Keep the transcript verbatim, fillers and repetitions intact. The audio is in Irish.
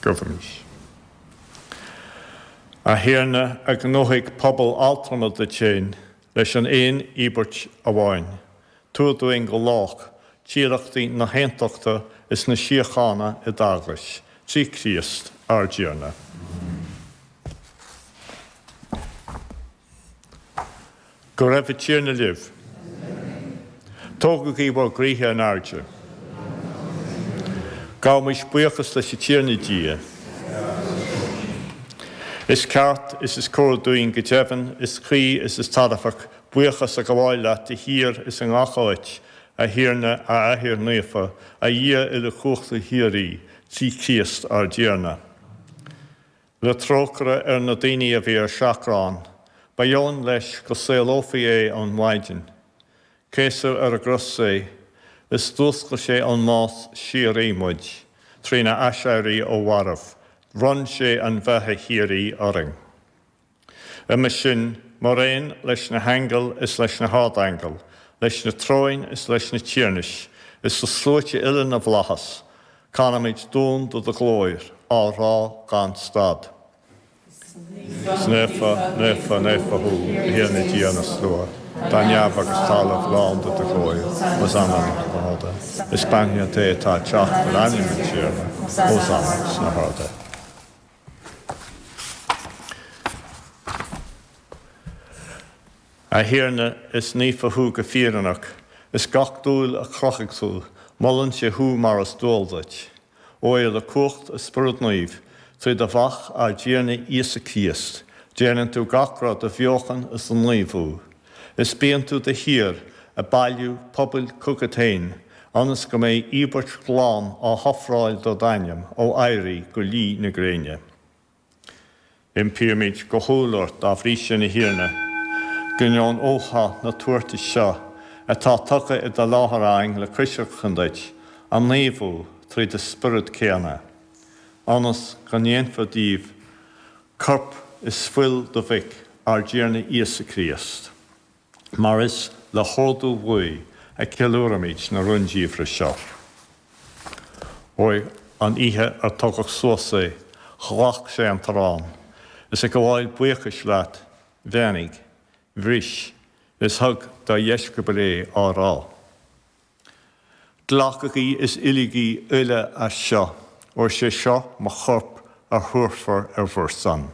Gabhaimis. A Thiarna a ghnóthaigh pobal altrama duit féin leis an aon íobairt amháin. Tabhair dúinn go lách tiarachtaí na haontachta is na síochána i d'Eaglais, trí Chríost ár dTiarna. Go raibh an Tiarna libh. Tógaigí bhur gcroíthe in airde. Gabhaimis buíochas leis an Tiarna Dia. Is ceart is is cóir dúinn go deimhin, is cuí is is tairbheach buíochas a ghabháil leat de shíor is i ngach áit, a Thiarna, a Athair Naofa, a Dhia uilechumhachtaigh shíoraí, trí Chríost ár dTiarna. Le trócaire ar na daoine a bhí ar seachrán, ba dheoin leis go saolófaí é ón mhaighdean. Céasadh ar an gcros é, is d'fhuascail sé ón mbás síoraí muid, trína aiséirí ó mhairbh, bhronn sé an bheatha shíoraí orainn. Uime sin, mar aon leis na haingil is leis na hardaingil, leis na tróin is leis na tiarnais, is le sluaite uile na bhflaitheas, canaimid duan do do ghlóir, á rá gan stad. Is naofa, naofa, naofa thú, a Thiarna Dia na slua, tá neamh agus talamh lán de do ghlóir, Hosanna sna harda. Is beannaithe an té atá ag teacht in ainm an Tiarna, Hosanna sna harda. A Thiarna, is naofa thú go fírinneach, is gach dúil a chruthaigh tú, molann sé thú mar is dual duit. Óir le cumhacht an Spioraid Naoimh, trí do Mhac ár dTiarna Íosa Críost, déanann tú gach rud a bheochan is a naomhú, is bíonn tú de shíor ag bailiú pobail chugat féin, ionas go mbeidh íobairt ghlan á hofráil do d'ainm ó éirí go luí na gréine. Impímid go humhal ort dá bhrí sin, a Thiarna, go ndeonófá na tabhartais seo atá tugtha i do láthair againn le coisreacan duit, a naomhú trí do Spiorad céanna, ionas go ndéanfar díobh corp is fuil do Mhic, ár dTiarna Íosa Críost. Mar is le hordú uaidh a ceiliúraimid na rúndiamhra seo. Óir an oíche ar tugadh suas é, ghlac sé an t-arán, is ag gabháil buíochais leat, bheannaigh, bhris, is thug dá dheisceabail é, á rá. Glacaigí is ithigí uile as seo, óir is é seo mo chorp a thabharfar ar bhur son.